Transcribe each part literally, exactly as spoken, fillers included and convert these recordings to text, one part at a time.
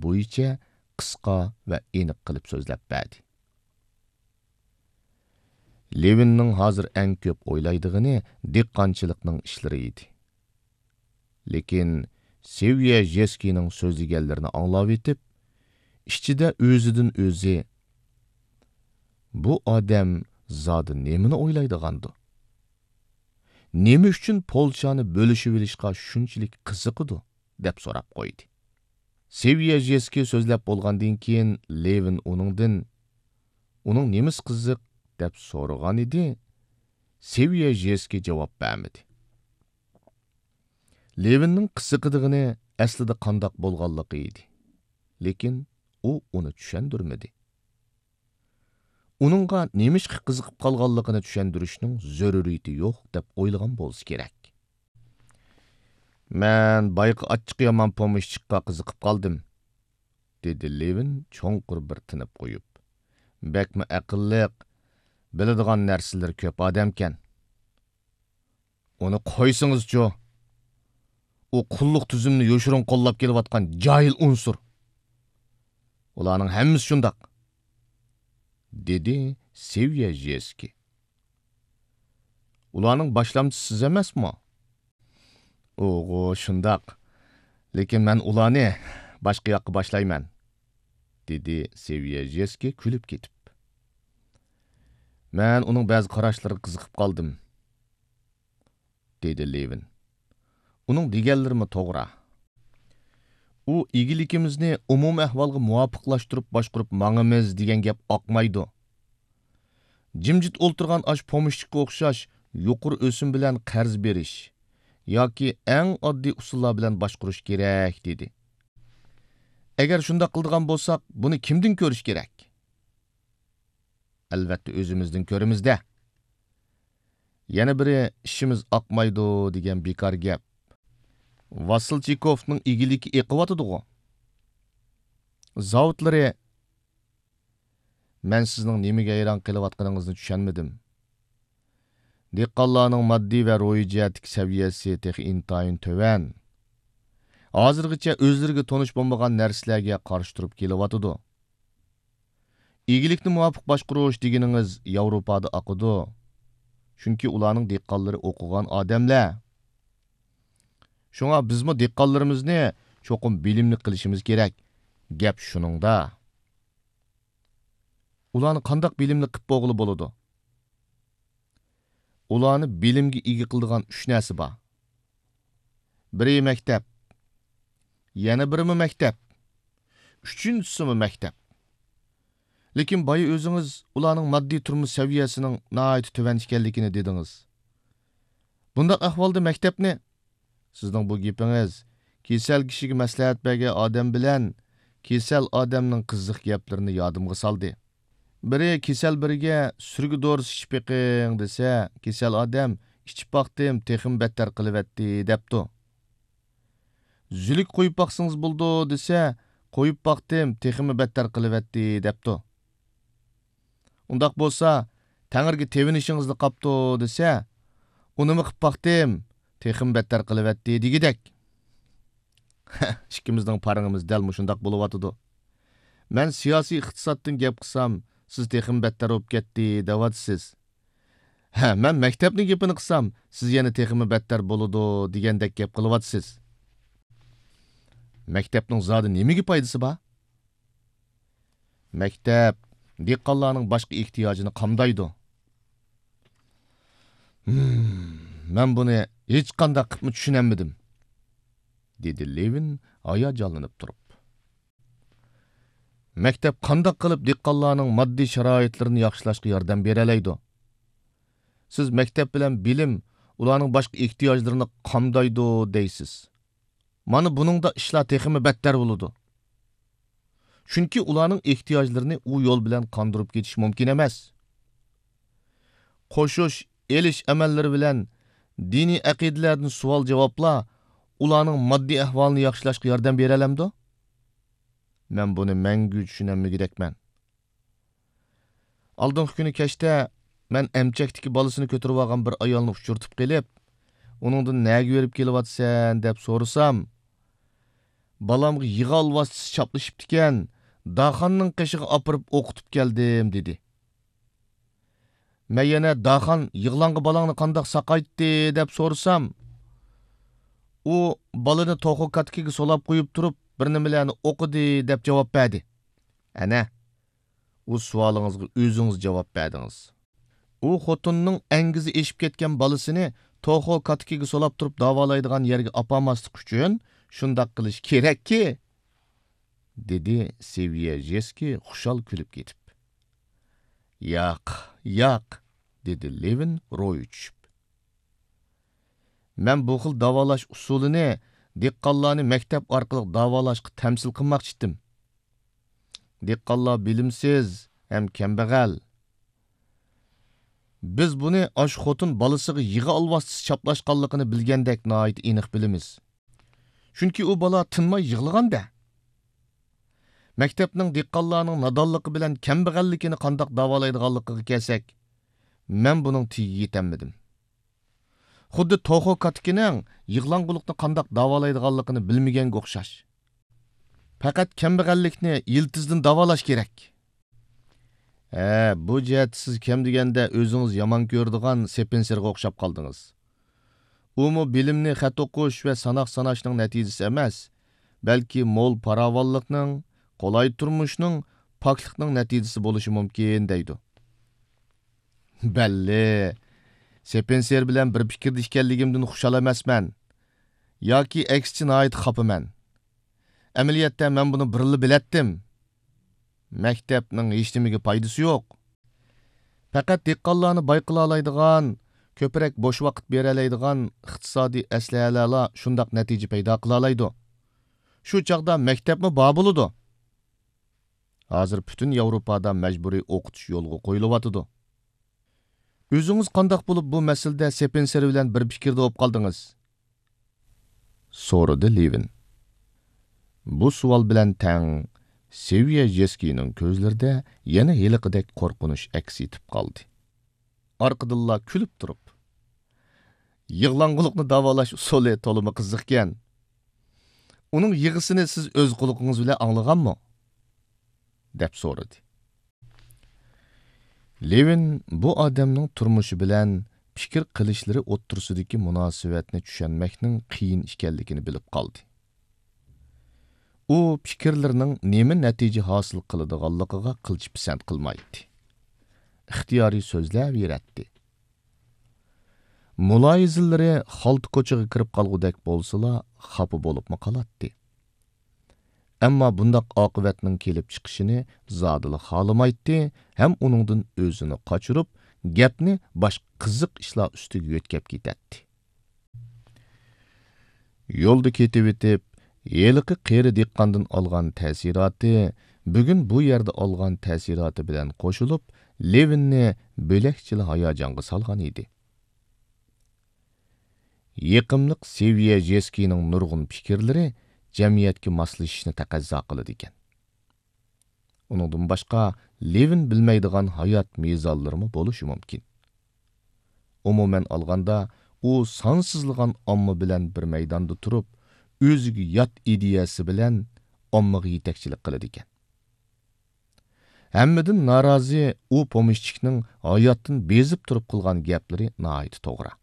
بويىچە قىسقا ۋە ئېنىق قىلىپ سۆزلەپ بەردى. لېۋىننىڭ ھازىر ئەڭ كۆپ ئويلايدىغىنى دېھقانچىلىقنىڭ ئىشلىرى ئىدى. لېكىن سېۋيەژېسكىينىڭ سۆزلىگەنلىرىنى ئاڭلاۋېتىپ، ئىچىدە ئۆزىدىن ئۆزى، «بۇ ئادەم زادى نېمىنى ئويلايدىغاندۇ؟ نېمە ئۈچۈن پولچانى بۆلۈشۈۋېلىشقا شۇنچىلىك قىزىقىدۇ؟» دەپ سوراپ قويدى. سېۋيەژېسكىي سۆزلەپ بولغاندىن كېيىن، لېۋىن ئۇنىڭدىن، «ئۇنىڭ نېمىسى قىزىق؟» دەپ سورىغان ئىدى. سېۋيەژېسكىي جاۋاب بەرمىدى. لېۋىننىڭ قىزىقىدىغىنى ئەسلىدە قانداق بولغانلىقى ئىدى. لېكىن ئۇ ئۇنى چۈشەندۈرمىدى. ئۇنىڭغا نېمىشقا قىزىقىپ قالغانلىقىنى چۈشەندۈرۈشنىڭ زۆرۈرىيىتى يوق دەپ ئويلىغان بولسا كېرەك. «مەن بايىقى ئاچچىقى يامان پومېشچىكقا قىزىقىپ قالدىم»، دېدى لېۋىن چوڭقۇر بىر تىنىپ قويۇپ. «بەكمۇ ئەقىللىق، بىلىدىغان نەرسىلىرى كۆپ ئادەمكەن.» «ئۇنى قويسىڭىزچۇ! ئۇ قۇللۇق تۈزۈمنى يوشۇرۇن قوللاپ كېلىۋاتقان جاھىل ئۇنسۇر. ئۇلارنىڭ ھەممىسى شۇنداق»، دېدى سېۋيەژېسكىي. «ئۇلارنىڭ باشلامچىسى سىز ئەمەسمۇ؟» «ئۇغۇ، شۇنداق. لېكىن مەن ئۇلارنى باشقا ياققا باشلايمەن»، دېدى سېۋيەژېسكىي كۈلۈپ كېتىپ. «مەن ئۇنىڭ بەزى قاراشلىرىغا قىزىقىپ قالدىم»، دېدى لېۋىن. «ئۇنىڭ دېگەنلىرىمۇ توغرا. ئۇ ئىگىلىكىمىزنى ئومۇمىي ئەھۋالغا مۇۋاپىقلاشتۇرۇپ باشقۇرۇپ ماڭىمىز دېگەن گەپ ئاقمايدۇ. جىمجىت ئولتۇرغان ئاشۇ پومېشچىكقا ئوخشاش يۇقىرى ئۆسۈم بىلەن قەرز بېرىش ياكى ئەڭ ئاددىي ئۇسۇللار بىلەن باشقۇرۇش كېرەك» دېدى. «ئەگەر شۇنداق قىلىدىغان بولساق، بۇنى كىمدىن كۆرۈش كېرەك؟» «ئەلۋەتتە، ئۆزىمىزدىن كۆرىمىز-دە. يەنە بىرى، ئىشىمىز ئاقمايدۇ دېگەن بىكار گەپ. ۋاسىلچىكوفنىڭ ئىگىلىكى ئېقىۋاتىدىغۇ. زاۋۇتلىرى...» «مەن سىزنىڭ نېمىگە ھەيران قېلىۋاتقىنىڭىزنى چۈشەنمىدىم. دېھقانلارنىڭ ماددىي ۋە روھىي جەھەتتىكى سەۋىيەسى تېخى ئىنتايىن تۆۋەن. ھازىرغىچە ئۆزلىرىگە تونۇش بولمىغان نەرسىلەرگە قارشى تۇرۇپ كېلىۋاتىدۇ. ئىگىلىكنى مۇۋاپىق باشقۇرۇش دېگىنىڭىز ياۋروپادا ئاقىدۇ. چۈنكى ئۇلارنىڭ دېھقانلىرى ئوقۇغان ئادەملەر. شۇڭا بىزمۇ دېھقانلىرىمىزنى چوقۇم بىلىملىك قىلىشىمىز كېرەك. گەپ شۇنىڭدا.» «ئۇلارنى قانداق بىلىملىك قىلىپ بولغىلى بولىدۇ؟» «ئۇلارنى بىلىمگە ئىگە قىلىدىغان ئۈچ نەرسە بار. بىرى مەكتەپ، يەنە بىرىمۇ مەكتەپ، ئۈچىنچىسىمۇ مەكتەپ. لېكىن بايا ئۆزىڭىز ئۇلارنىڭ ماددىي تۇرمۇش سەۋىيەسىنىڭ ناھايىتى تۆۋەن ئىكەنلىكىنى دېدىڭىز. بۇنداق ئەھۋالدا مەكتەپنى...» سىزنىڭ بۇ گېپىڭىز كېسەل كىشىگە مەسلىھەت بەرگەن ئادەم بىلەن كېسەل ئادەمنىڭ قىزىق گەپلىرىنى يادىمغا سالدى. بىرى كېسەل بىرىگە «سۈرگە دورىسى ئىچىپ بېقىڭ» دېسە، كېسەل ئادەم «ئىچىپ باقتىم، تېخىمۇ بەتتەر قىلىۋەتتى» دەپتۇ. «زۈلۈك قويۇپ باقسىڭىز بولىدۇ» دېسە، «قويۇپ باقتىم، تېخىمۇ بەتتەر قىلىۋەتتى» دەپتۇ. «ئۇنداق بولسا، تەڭرىگە تېۋىنىشىڭىزلا قاپتۇ» دېسە، «ئۇنىمۇ قىپ باقتىم، تېخىمۇ بەتتەر قىلىۋەتتى» دېگۈدەك. ئىككىمىزنىڭ پارىڭىمىز دەل مۇشۇنداق بولۇۋاتىدۇ. مەن سىياسىي ئىقتىسادتىن گەپ قىلسام، سىز «تېخىمۇ بەتتەر بولۇپ كەتتى» دەۋاتىسىز. ھە، مەن مەكتەپنىڭ گېپىنى قىلسام، سىز يەنە «تېخىمۇ بەتتەر بولىدۇ» دېگەندەك گەپ قىلىۋاتىسىز. مەكتەپنىڭ زادى نېمىگە پايدىسى بار؟ مەكتەپ دېھقانلارنىڭ باشقا ئېھتىياجىنى قامدايدۇ. ھىم، مەن بۇنى ھېچقانداق قىپمۇ چۈشىنەلمىدىم، دېدى لېۋىن ھاياجانلىنىپ تۇرۇپ. مەكتەپ قانداق قىلىپ دېھقانلارنىڭ ماددىي شارائىتلىرىنى ياخشىلاشقا ياردەم بېرەلەيدۇ؟ سىز مەكتەپ بىلەن بىلىم ئۇلارنىڭ باشقا ئېھتىياجلىرىنى قامدايدۇ دەيسىز. مانا بۇنىڭدا ئىشلار تېخىمۇ بەتتەر بولىدۇ. چۈنكى ئۇلارنىڭ ئېھتىياجلىرىنى ئۇ يول بىلەن قاندۇرۇپ كېتىش مۇمكىن ئەمەس. قوشۇش، ئېلىش ئەمەللىرى بىلەن دىنىي ئەقىدىلەردىن سوئال-جاۋابلار ئۇلارنىڭ ماددىي ئەھۋالىنى ياخشىلاشقا ياردەم بېرەلەمدۇ؟ مەن بۇنى مەڭگۈ چۈشىنەلمىگۈدەكمەن. ئالدىنقى كۈنى كەچتە مەن ئەمچەكتىكى بالىسىنى كۆتۈرۈۋالغان بىر ئايالنى ئۇچرىتىپ قېلىپ، ئۇنىڭدىن «نەگە بېرىپ كېلىۋاتىسەن؟» دەپ سورىسام، بالامغا يىغا ئالۋاستىسى چاپلىشىپتىكەن، داخاننىڭ قېشىغا ئاپىرىپ ئوقۇتۇپ كەلدىم، دېدى. مەن يەنە، داخان، يىغلاڭغا بالاڭنى قانداق ساقايتتى، دەپ سورىسام، ئۇ، بالىنى توخۇ كاتىكىگە سولاپ قويۇپ تۇرۇپ، بىر نېمىلەرنى ئوقۇدى، دەپ جاۋاب بەردى. ئەنە، ئۇ سوئالىڭىزغا ئۆزىڭىز جاۋاب بەردىڭىز. ئۇ خوتۇننىڭ ئەڭگۈزى ئېشىپ كەتكەن بالىسىنى توخۇ كاتىكىگە سولاپ تۇرۇپ داۋالايدىغان يەرگە ئاپارماسلىق ئۈچۈن شۇنداق قىلىش كېرەككى، دېدى سېۋيەژېسكىي خۇشال كۈلۈپ كېتىپ. ياق، ياق، دېدى لېۋىن روھى چۈشۈپ. مەن بۇ خىل داۋالاش ئۇسۇلىنى دېھقانلارنى مەكتەپ ئارقىلىق داۋالاشقا تەمسىل قىلماقچى ئىدىم. دېھقانلار بىلىمسىز ھەم كەمبەغەل. بىز بۇنى ئاشۇ خوتۇن بالىسىغا يىغا ئالۋاستىسى چاپلاشقانلىقىنى بىلگەندەك ناھايىتى ئېنىق بىلىمىز. چۈنكى ئۇ بالا تىنماي يىغلىغان-دە. مەكتەپنىڭ دېھقانلارنىڭ نادانلىقى بىلەن كەمبەغەللىكىنى قانداق داۋالايدىغانلىقىغا كەلسەك، مەن بۇنىڭ تېگىگە يېتەلمىدىم. خۇددى توخۇ كاتىكىنىڭ يىغلاڭغۇلۇقنى قانداق داۋالايدىغانلىقىنى بىلمىگەنگە ئوخشاش. پەقەت كەمبەغەللىكنى يىلتىزدىن داۋالاش كېرەك. ھە، بۇ جەھەتتە سىز كەم دېگەندە ئۆزىڭىز يامان كۆرىدىغان سېپىنسېرغا ئوخشاپ قالدىڭىز. ئۇمۇ بىلىمنى خەت ئوقۇش ۋە ساناق ساناشنىڭ نەتىجىسى ئەمەس، بەلكى مول پاراۋانلىقنىڭ، قولاي تۇرمۇشنىڭ، پاكلىقنىڭ نەتىجىسى بولۇشى مۇمكىن، دەيدۇ. بەللى، سېپىنسېر بىلەن بىر پىكىردە ئىكەنلىكىمدىن خۇشال ئەمەسمەن. ياكى ئەكسىچە ناھايىتى خاپىمەن. ئەمەلىيەتتە مەن بۇنى بۇرۇنلا بىلەتتىم. مەكتەپنىڭ ھېچنېمىگە پايدىسى يوق. پەقەت دېھقانلارنى باي قىلالايدىغان، كۆپرەك بوش ۋاقىت بېرەلەيدىغان ئىقتىسادىي ئەسلىھەلەرلا شۇنداق نەتىجە پەيدا قىلالايدۇ. شۇ چاغدا مەكتەپمۇ بار بولىدۇ. ھازىر پۈتۈن ياۋروپادا مەجبۇرىي ئوقۇتۇش يولغا قويۇلۇۋاتىدۇ. ئۆزىڭىز قانداق بولۇپ بۇ مەسىلىدە سېپىنسېر بىلەن بىر پىكىردە بولۇپ قالدىڭىز؟ سورىدى لېۋىن. بۇ سوئال بىلەن تەڭ سېۋيەژېسكىينىڭ كۆزلىرىدە يەنە ھېلىقىدەك قورقۇنچ ئەكس ئېتىپ قالدى. ئارقىدىنلا كۈلۈپ تۇرۇپ، يىغلاڭغۇلۇقنى داۋالاش ئۇسۇلى تولىمۇ قىزىقكەن. ئۇنىڭ يىغىسىنى سىز ئۆز قۇلىقىڭىز بىلەن ئاڭلىغانمۇ؟ دەپ سورىدى. لېۋىن بۇ ئادەمنىڭ تۇرمۇشى بىلەن پىكىر قىلىشلىرى ئوتتۇرىسىدىكى مۇناسىۋەتنى چۈشەنمەكنىڭ قىيىن ئىكەنلىكىنى بىلىپ قالدى. ئۇ پىكىرلىرىنىڭ نېمە نەتىجە ھاسىل قىلىدىغانلىقىغا قىلچە پىسەنت قىلمايتتى. ئىختىيارىي سۆزلەۋېرەتتى. مۇلاھىزىلىرى خالتا كوچىغا كىرىپ قالغۇدەك بولسىلا، خاپا بولۇپمۇ قالاتتى. ئەمما بۇنداق ئاقىۋەتنىڭ كېلىپ چىقىشىنى زادىلا خالىمايتتى ھەم ئۇنىڭدىن ئۆزىنى قاچۇرۇپ، گەپنى باشقا قىزىق ئىشلار ئۈستىگە يۆتكەپ كېتەتتى. يولدا كېتىۋېتىپ، ھېلىقى قېرى دېھقاندىن ئالغان تەسىراتى، بۈگۈن بۇ يەردە ئالغان تەسىراتى بىلەن قوشۇلۇپ، لېۋىننى بۆلەكچىلا ھاياجانغا سالغان ئىدى. يېقىملىق سېۋيەژېسكىينىڭ نۇرغۇن پىكىرلىرى جەمئىيەتكە ماسلىشىشنى تەقەززا قىلىدىكەن. ئۇنىڭدىن باشقا، لېۋىن بىلمەيدىغان ھايات مىزانلىرىمۇ بولۇشى مۇمكىن. ئومۇمەن ئالغاندا، ئۇ سانسىزلىغان ئامما بىلەن بىر مەيداندا تۇرۇپ، ئۆزىگە يات ئىدىيەسى بىلەن ئاممىغا يېتەكچىلىك قىلىدىكەن. ھەممىدىن نارازى ئۇ پومېشچىكنىڭ ھاياتتىن بېزىپ تۇرۇپ قىلغان گەپلىرى ناھايىتى توغرا.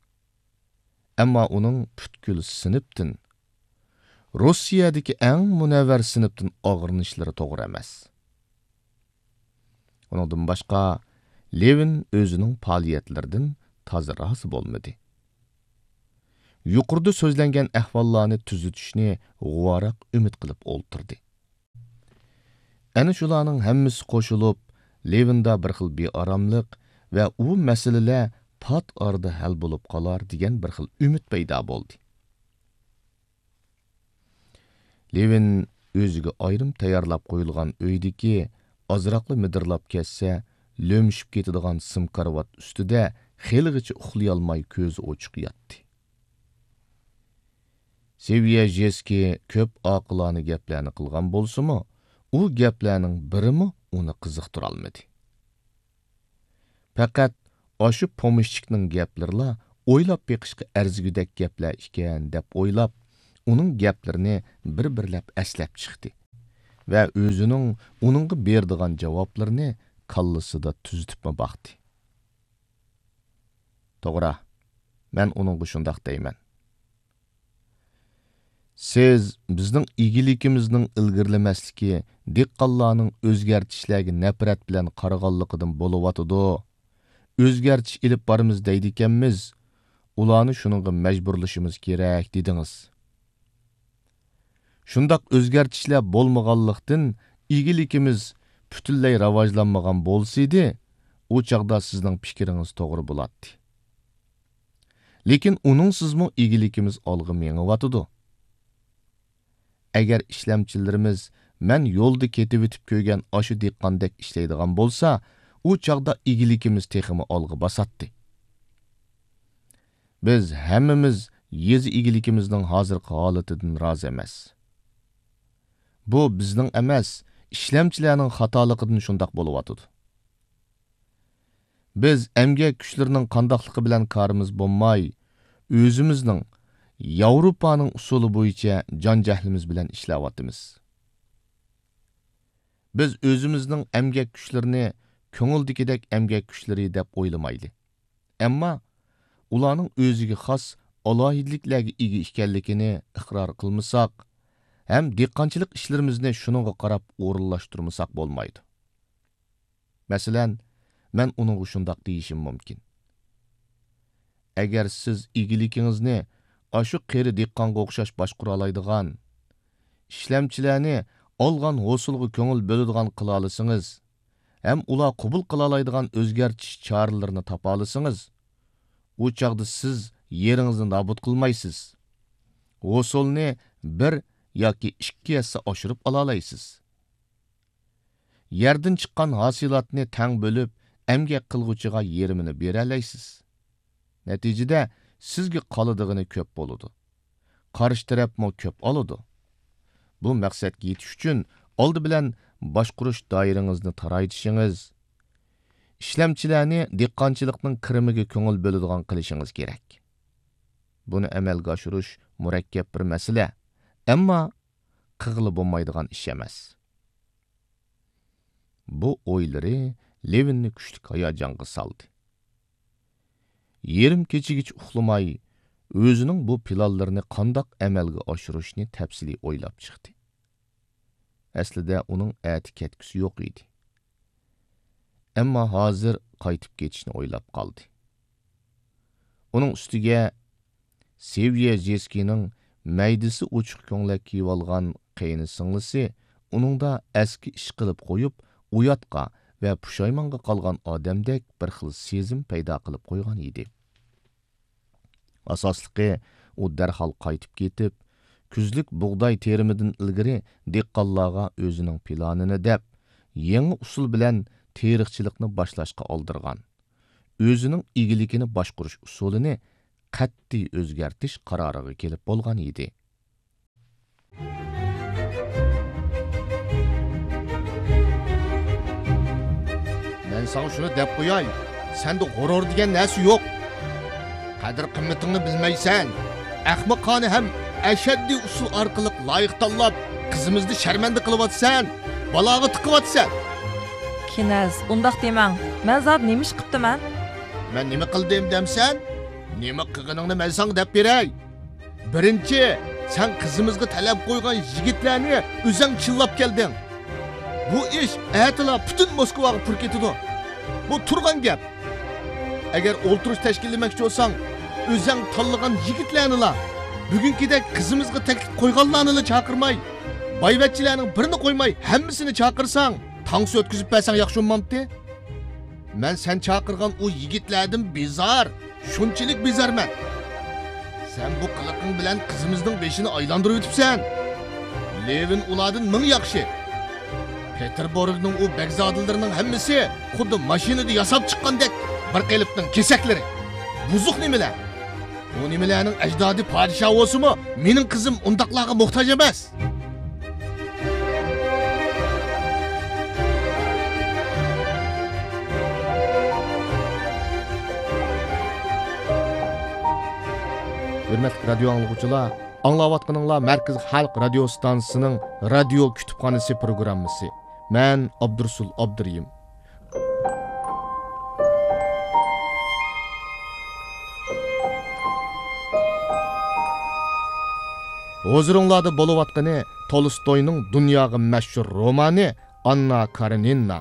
ئەمما ئۇنىڭ پۈتكۈل سىنىپتىن، روسىيەدىكى ئەڭ مۇنەۋۋەر سىنىپتىن ئاغرىنىشلىرى توغرا ئەمەس. ئۇنىڭدىن باشقا، لېۋىن ئۆزىنىڭ پائالىيەتلىرىدىن تازا رازى بولمىدى. يۇقىرىدا سۆزلەنگەن ئەھۋاللارنى تۈزىتىشنى غۇۋاراق ئۈمىد قىلىپ ئولتۇردى. ئەنە شۇلارنىڭ ھەممىسى قوشۇلۇپ، لېۋىندا بىر خىل بىئاراملىق ۋە ئۇ مەسىلىلەر پات ئارىدا ھەل بولۇپ قالار دېگەن بىر خىل ئۈمىد پەيدا بولدى. لېۋىن ئۆزىگە ئايرىم تەييارلاپ قويۇلغان ئۆيدىكى ئازراقلا مىدىرلاپ كەتسە، لۆمۈشۈپ كېتىدىغان سىم كارىۋات ئۈستىدە خېلىغىچە ئۇخلىيالماي كۆزى ئوچۇق ياتتى. سېۋيەژېسكىي كۆپ ئاقىلانە گەپلەرنى قىلغان بولسىمۇ، ئۇ گەپلەرنىڭ بىرىمۇ ئۇنى قىزىقتۇرالمىدى. پەقەت ئاشۇ پومېشچىكنىڭ گەپلىرىلا ئويلاپ بېقىشقا ئەرزىگۈدەك گەپلەر ئىكەن، دەپ ئويلاپ، ئۇنىڭ گەپلىرىنى بىر-بىرلەپ ئەسلەپ چىقتى ۋە ئۆزىنىڭ ئۇنىڭغا بېرىدىغان جاۋابلىرىنى كاللىسىدا تۈزىتىپمۇ باقتى. توغرا، مەن ئۇنىڭغا شۇنداق دەيمەن. سىز بىزنىڭ ئىگىلىكىمىزنىڭ ئىلگىرىلىمەسلىكى، دېھقانلارنىڭ ئۆزگەرتىشلەرگە نەپرەت بىلەن قارىغانلىقىدىن بولۇۋاتىدۇ. ئۆزگەرتىش ئېلىپ بارىمىز دەيدىكەنمىز، ئۇلارنى شۇنىڭغا مەجبۇرلىشىمىز كېرەك، دېدىڭىز. شۇنداق ئۆزگەرتىشلەر بولمىغانلىقتىن، ئىگىلىكىمىز پۈتۈنلەي راۋاجلانمىغان بولسىدى، ئۇ چاغدا سىزنىڭ پىكرىڭىز توغرا بولاتتى. لېكىن ئۇنىڭسىزمۇ ئىگىلىكىمىز ئالغا مېڭىۋاتىدۇ. ئەگەر ئىشلەمچىلىرىمىز مەن يولدا كېتىۋېتىپ كۆرگەن ئاشۇ دېھقاندەك ئىشلەيدىغان بولسا، ئۇ چاغدا ئىگىلىكىمىز تېخىمۇ ئالغا باساتتى. بىز ھەممىمىز يېزا ئىگىلىكىمىزنىڭ ھازىرقى ھالىتىدىن رازى ئەمەس. بۇ بىزنىڭ ئەمەس، ئىشلەمچىلەرنىڭ خاتالىقىدىن شۇنداق بولۇۋاتىدۇ. بىز ئەمگەك كۈچلىرىنىڭ قانداقلىقى بىلەن كارىمىز بولماي، ئۆزىمىزنىڭ ياۋروپانىڭ ئۇسۇلى بويىچە جان-جەھلىمىز بىلەن ئىشلەۋاتىمىز. بىز ئۆزىمىزنىڭ ئەمگەك كۈچلىرىنى كۆڭۈلدىكىدەك ئەمگەك كۈچلىرى دەپ ئويلىمايلى. ئەمما ئۇلارنىڭ ئۆزىگە خاس ئالاھىدىلىكلەرگە ئىگە ئىكەنلىكىنى ئىقرار قىلمىساق ھەم دېھقانچىلىق ئىشلىرىمىزنى شۇنىڭغا قاراپ ئورۇنلاشتۇرمىساق بولمايدۇ. مەسىلەن، مەن ئۇنىڭغا شۇنداق دېيىشىم مۇمكىن. ئەگەر سىز ئىگىلىكىڭىزنى ئاشۇ قېرى دېھقانغا ئوخشاش باشقۇرالايدىغان، ئىشلەمچىلەرنى ئالغان ھوسۇلغا كۆڭۈل بۆلىدىغان قىلالىسىڭىز ھەم ئۇلار قوبۇل قىلالايدىغان ئۆزگەرتىش چارىلىرىنى تاپالىسىڭىز، ئۇ چاغدا سىز يېرىڭىزنى نابۇت قىلمايسىز. ھوسۇلنى بىر ياكى ئىككى ھەسسە ئاشۇرۇپ ئالالايسىز. يەردىن چىققان ھاسىلاتنى تەڭ بۆلۈپ، ئەمگەك قىلغۇچىغا يېرىمىنى بېرەلەيسىز. نەتىجىدە، سىزگە قالىدىغىنى كۆپ بولىدۇ. قارشى تەرەپمۇ كۆپ ئالىدۇ. بۇ مەقسەتكە يېتىش ئۈچۈن، ئالدى بىلەن باشقۇرۇش دائىرىڭىزنى تارايتىشىڭىز، ئىشلەمچىلەرنى دېھقانچىلىقنىڭ كىرىمىگە كۆڭۈل بۆلىدىغان قىلىشىڭىز كېرەك. بۇنى ئەمەلگە ئاشۇرۇش مۇرەككەپ بىر مەسىلە، ئەمما قىلغىلى بولمايدىغان ئىش ئەمەس. بۇ ئويلىرى لېۋىننى كۈچلۈك ھاياجانغا سالدى. يېرىم كېچىگىچە ئۇخلىماي، ئۆزىنىڭ بۇ پىلانلىرىنى قانداق ئەمەلگە ئاشۇرۇشنى تەپسىلىي ئويلاپ چىقتى. ئەسلىدە ئۇنىڭ ئەتە كەتكۈسى يوق ئىدى. ئەمما ھازىر قايتىپ كېتىشنى ئويلاپ قالدى. ئۇنىڭ ئۈستىگە سېۋيېژېسكىنىڭ مەيدىسى ئوچۇق كۆڭلەك كىيىۋالغان قېيىنسىڭلىسى ئۇنىڭدا ئەسكى ئىش قىلىپ قويۇپ، ئۇياتقا ۋە پۇشايمانغا قالغان ئادەمدەك بىر خىل سېزىم پەيدا قىلىپ قويغان ئىدى. ئاساسلىقى، ئۇ دەرھال قايتىپ كېتىپ، كۈزلۈك بۇغداي تېرىمىدىن ئىلگىرى دېھقانلارغا ئۆزىنىڭ پىلانىنى دەپ، يېڭى ئۇسۇل بىلەن تېرىقچىلىقنى باشلاشقا ئالدىرغان، ئۆزىنىڭ ئىگىلىكىنى باشقۇرۇش ئۇسۇلىنى قەتئىي ئۆزگەرتىش قارارىغا كېلىپ بولغان ئىدى. مەن ساڭا شۇنى دەپ قوياي، سەندە غۇرۇر دېگەن نەرسە يوق. قەدىر-قىممىتىڭنى بىلمەيسەن. ئەخمىقانە ھەم ئەشەددىي ئۇسۇل ئارقىلىق لايىق تاللاپ، قىزىمىزنى شەرمەندە قىلىۋاتىسەن، بالاغا تىقىۋاتىسەن. كىنەز، ئۇنداق دېمەڭ. مەن زادى نېمە ئىش قىپتىمەن؟ مەن نېمە قىلدىم دەمسەن؟ نېمە قىلغىنىڭنى مەن ساڭا دەپ بېرەي. بىرىنچى، سەن قىزىمىزغا تەلەپ قويغان يىگىتلەرنى ئۆزەڭ چىللاپ كەلدىڭ. بۇ ئىش ئەتىلا پۈتۈن موسكۋاغا پۇر كېتىدۇ. بۇ تۇرغان گەپ. ئەگەر ئولتۇرۇش تەشكىللىمەكچى بولساڭ، ئۆزەڭ تاللىغان يىگىتلەرنىلا، بۈگۈنكىدەك قىزىمىزغا تەكلىپ قويغانلارنىلا چاقىرماي، بايۋەچچىلەرنىڭ بىرىنى قويماي ھەممىسىنى چاقىرساڭ، تانسا ئۆتكۈزۈپ بەرسەڭ ياخشى بولمامتى؟ مەن سەن چاقىرغان ئۇ يىگىتلەردىن بىزار، شۇنچىلىك بىزارمەن. سەن بۇ قىلىقىڭ بىلەن قىزىمىزنىڭ بېشىنى ئايلاندۇرۇۋېتىپسەن. لېۋىن ئۇلاردىن مىڭ ياخشى. پېتېربۇرگنىڭ ئۇ بەگزادىلىرىنىڭ ھەممىسى خۇددى ماشىنىدا ياساپ چىققاندەك بىر قېلىپنىڭ كېسەكلىرى. بۇزۇق نېمىلەر؟ ئۇ نېمىلەرنىڭ ئەجدادى پادىشاھ بولسىمۇ، مېنىڭ قىزىم ئۇنداقلارغا موھتاج ئەمەس. ھۆرمەتلىك رادىيو ئاڭلىغۇچىلار، ئاڭلاۋاتقىنىڭلار مەركىزىي خەلق رادىيو ئىستانسىسىنىڭ رادىيو كۇتۇپخانىسى پروگراممىسى. مەن ئابدۇرۇسۇل ئابدۇرېھىم. ھۇزۇرۇڭلاردا بولۇۋاتقىنى تولستوينىڭ دۇنياغا مەشھۇر رومانى ئاننا كارېنىنا.